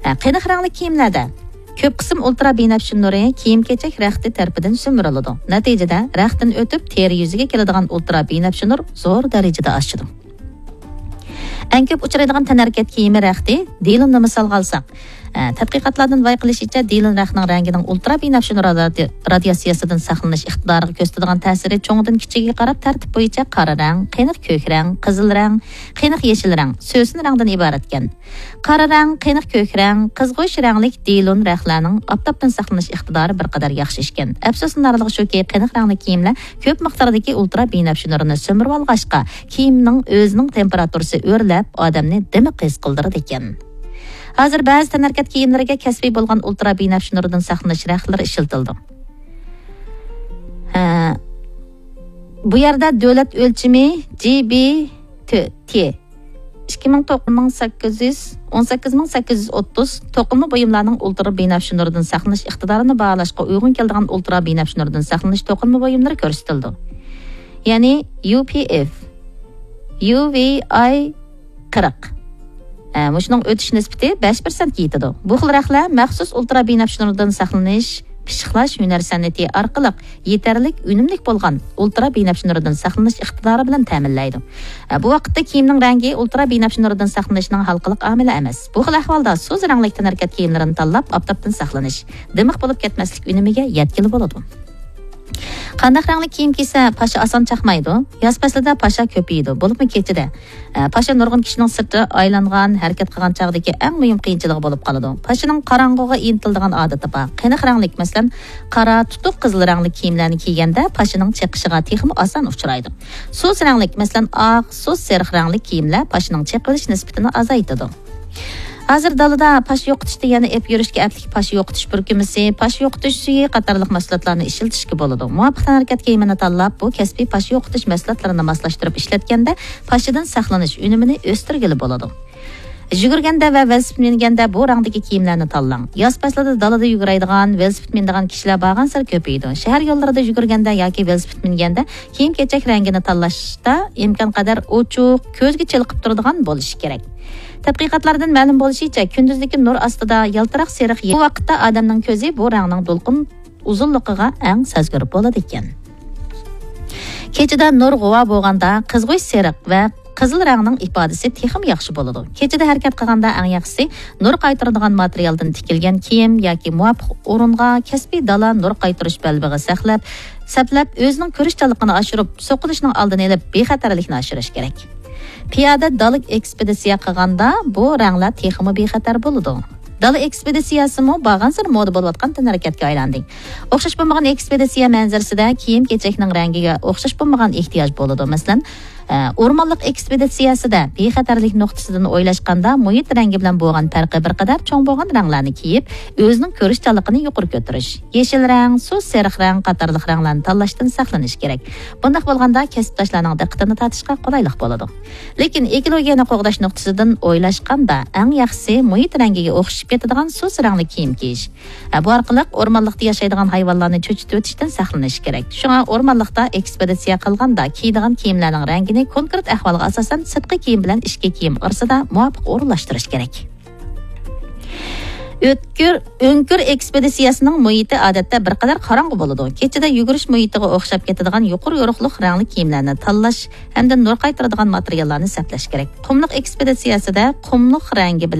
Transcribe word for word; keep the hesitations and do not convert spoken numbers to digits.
ھە، قېنىق رەڭلىك كىيىملەردە كۆپ قىسىم ئۇلترا بىنەپشە نۇرى كىيىم-كېچەك رەختى تەرىپىدىن سۈمۈرۈلىدۇ. نەتىجىدە، رەختتىن ئۆتۈپ، تېرە يۈزىگە كېلىدىغان ئۇلترا بىنەپشە نۇر زور دەرىجىدە ئاشىدۇ. ئەڭ كۆپ ئۇچرايدىغان تەنھەرىكەت كىيىمى رەختى دېلوننى مىسالغا ئالساق، ئە، تەتقىقاتلاردىن بايقىلىشىچە، دېلون رەختىنىڭ رەڭگىنىڭ ئۇلترا بىنەپشە نۇر رادىيا-، رادىياتسىيەسىدىن ساقلىنىش ئىقتىدارىغا كۆرسىتىدىغان تەسىرى چوڭىدىن كىچىكىگە قاراپ تەرتىپ بويىچە قارا رەڭ، قېنىق كۆك رەڭ، قىزىل رەڭ، قېنىق يېشىل رەڭ، سۆسۈن رەڭدىن ئىبارەتكەن. قارا رەڭ، قېنىق كۆك رەڭ، قىزغۇچ رەڭلىك دېلون رەختلەرنىڭ ئاپتاپتىن ساقلىنىش ئىقتىدارى بىر قەدەر ياخشى ئىكەن. ئەپسۇسلىنارلىقى شۇكى، قېنىق رەڭلىك كىيىملەر كۆپ مىقداردىكى ئۇلترا بىنەپشە نۇرىنى سۈمۈرۈۋالغاچقا، كىيىمنىڭ ئۆزىنىڭ تېمپېراتۇرىسى ئۆرلەپ، ئادەمنى دىمىق ھېس قىلدۇرىدىكەن. ھازىر بەزى تەنھەرىكەت كىيىملىرىگە كەسپىي بولغان ئۇلترا بىنەپشە نۇرىدىن ساقلىنىش رەختلىرى ئىشلىتىلىدۇ. ھە، بۇ يەردە دۆلەت ئۆلچىمى جى بى تى، ئىككى مىڭ توققۇز مىڭ سەككىز يۈز، ئون سەككىز مىڭ سەككىز يۈز ئوتتۇز توقۇلما بۇيۇملارنىڭ ئۇلترا بىنەپشە نۇرىدىن ساقلىنىش ئىقتىدارىنى باھالاشقا ئۇيغۇن كېلىدىغان ئۇلترا بىنەپشە نۇرىدىن ساقلىنىش توقۇلما بۇيۇملىرى كۆرسىتىلىدۇ. يەنى يۇ پى ئېف، يۇ ۋى ئاي قىرىق. ئە، مۇشۇنىڭ ئۆتۈش نىسبىتى بەش پىرسەنتكە يېتىدۇ. بۇ خىل رەختلەر مەخسۇس ئۇلترا بىنەپشە نۇرىدىن ساقلىنىش، پىششىقلاش ھۈنەر سەنئىتى ئارقىلىق يېتەرلىك ئۈنۈملۈك بولغان ئۇلترا بىنەپشە نۇرىدىن ساقلىنىش ئىقتىدارى بىلەن تەمىنلەيدۇ. ئە، بۇ ۋاقىتتا كىيىمنىڭ رەڭگى ئۇلترا بىنەپشە نۇرىدىن ساقلىنىشنىڭ ھالقىلىق ئامىلى ئەمەس. بۇ خىل ئەھۋالدا سۇس رەڭلىك تەنھەرىكەت كىيىملىرىنى تاللاپ، ئاپتاپتىن ساقلىنىش، دىمىق بولۇپ كەتمەسلىك ئۈنۈمىگە يەتكىلى بولىدۇ. قانداق رەڭلىك كىيىم كىيسە، پاشا ئاسان چاقمايدۇ؟ ياز پەسلىدە پاشا كۆپىيىدۇ، بولۇپمۇ كېچىدە. ئە، پاشا نۇرغۇن كىشىنىڭ سىرتتا ئايلانغان، ھەرىكەت قىلغان چاغدىكى ئەڭ مۇھىم قىيىنچىلىقى بولۇپ قالىدۇ. پاشىنىڭ قاراڭغۇغا ئىنتىلىدىغان ئادىتى بار. قېنىق رەڭلىك، مەسىلەن، قارا، تۇتۇق قىزىل رەڭلىك كىيىملەرنى كىيگەندە، پاشىنىڭ چېقىشىغا تېخىمۇ ئاسان ئۇچرايدۇ. سۇس رەڭلىك، مەسىلەن، ئاق، سۇس سېرىق رەڭلىك كىيىملەر پاشىنىڭ چېقىۋېلىش نىسبىتىنى ئازايتىدۇ. ھازىر دالىدا پاشا يوقىتىشتا يەنە ئېپ يۈرۈشكە ئەپلىك پاشا يوقىتىش پۈركۈمىسى، پاشا يوقىتىش سۈيى قاتارلىق مەھسۇلاتلارنى ئىشلىتىشكە بولىدۇ. مۇۋاپىق تەنھەرىكەت كىيىمىنى تاللاپ، بۇ كەسپىي پاشا يوقىتىش مەھسۇلاتلىرىنى ماسلاشتۇرۇپ ئىشلەتكەندە، پاشىدىن ساقلىنىش ئۈنۈمىنى ئۆستۈرگىلى بولىدۇ. يۈگۈرگەندە ۋە ۋېلىسىپىت مىنگەندە بۇ رەڭدىكى كىيىملەرنى تاللاڭ. ياز پەسلىدە دالىدا يۈگۈرەيدىغان، ۋېلىسىپىت مىنىدىغان كىشىلەر بارغانسېرى كۆپىيىدۇ. شەھەر يوللىرىدا يۈگۈرگەندە ياكى ۋېلىسىپىت مىنگەندە كىيىم-كېچەك رەڭگىنى تاللاشتا ئىمكان قەدەر ئوچۇق، كۆزگە چېلىقىپ تۇرىدىغان بولۇشى كېرەك. تەتقىقاتلاردىن مەلۇم بولۇشىچە، كۈندۈزدىكى نۇر ئاستىدا يالتىراق سېرىق يىل، بۇ ۋاقىتتا ئادەمنىڭ كۆزى بۇ رەڭنىڭ دولقۇن ئۇزۇنلۇقىغا ئەڭ سەزگۈر بولىدىكەن. كېچىدە نۇر غۇۋا بولغاندا، قىزغۇچ سېرىق ۋە قىزىل رەڭنىڭ ئىپادىسى تېخىمۇ ياخشى بولىدۇ. كېچىدە ھەرىكەت قىلغاندا ئەڭ ياخشىسى نۇر قايتۇرىدىغان ماتېرىيالدىن تىكىلگەن كىيىم ياكى مۇۋاپىق ئورۇنغا، كەسپىي دالا نۇر قايتۇرۇش بەلبېغى سەقلەپ، سەپلەپ، ئۆزىنىڭ كۆرۈشچانلىقىنى ئاشۇرۇپ، سوقۇلۇشنىڭ ئالدىنى ئېلىپ، بىخەتەرلىكنى ئاشۇرۇش كېرەك. پىيادە دالا ئېكسپېدىتسىيە قىلغاندا بۇ رەڭلەر تېخىمۇ بىخەتەر بولىدۇ. دالا ئېكسپېدىتسىيەسىمۇ بارغانسېرى مودا بولۇۋاتقان تەنھەرىكەتكە ئايلاندى. ئوخشاش بولمىغان ئېكسپېدىتسىيە مەنزىرىسىدە كىيىم-كېچەكنىڭ رەڭگىگە ئوخشاش بولمىغان ئېھتىياج بولىدۇ. مەسىلەن، ئە، ئورمانلىق ئېكسپېدىتسىيەسىدە بىخەتەرلىك نۇقتىسىدىن ئويلاشقاندا، مۇھىت رەڭگى بىلەن بولغان پەرقى بىر قەدەر چوڭ بولغان رەڭلەرنى كىيىپ، ئۆزىنىڭ كۆرۈشچانلىقىنى يۇقىرى كۆتۈرۈش. يېشىل رەڭ، سۇس سېرىق رەڭ قاتارلىق رەڭلەرنى تاللاشتىن ساقلىنىش كېرەك. بۇنداق بولغاندا كەسىپداشلارنىڭ دىققىتىنى تارتىشقا قولايلىق بولىدۇ. لېكىن ئېكولوگىيەنى قوغداش نۇقتىسىدىن ئويلاشقاندا، ئەڭ ياخشىسى مۇھىت رەڭگىگە ئوخشىشىپ كېتىدىغان سۇس رەڭلىك كىيىم كىيىش. ھە، بۇ ئارقىلىق ئورمانلىقتا ياشايدىغان ھايۋانلارنى چۆچۈتۈۋېتىشتىن ساقلىنىش كېرەك. شۇڭا ئورمانلىقتا ئېكسپېدىتسىيە قىلغاندا كىيىدىغان كىيىملەرنىڭ رەڭگىنى كونكرېت ئەھۋالغا ئاساسەن سىرتقى كىيىم بىلەن ئىچكى كىيىم ئارىسىدا مۇۋاپىق ئورۇنلاشتۇرۇش كېرەك. ئۆتكۈر، ئۆڭكۈر ئېكسپېدىتسىيەسىنىڭ مۇھىتى ئادەتتە بىر قەدەر قاراڭغۇ بولىدۇ. كېچىدە يۈگۈرۈش مۇھىتىغا ئوخشاپ كېتىدىغان يۇقىرى يورۇقلۇق رەڭلىك كىيىملەرنى تاللاش ھەمدە نۇر قايتۇرىدىغان ماتېرىياللارنى سەپلەش كېرەك. قۇملۇق ئېكسپېدىتسىيەسىدە قۇملۇق رەڭگى بىلەن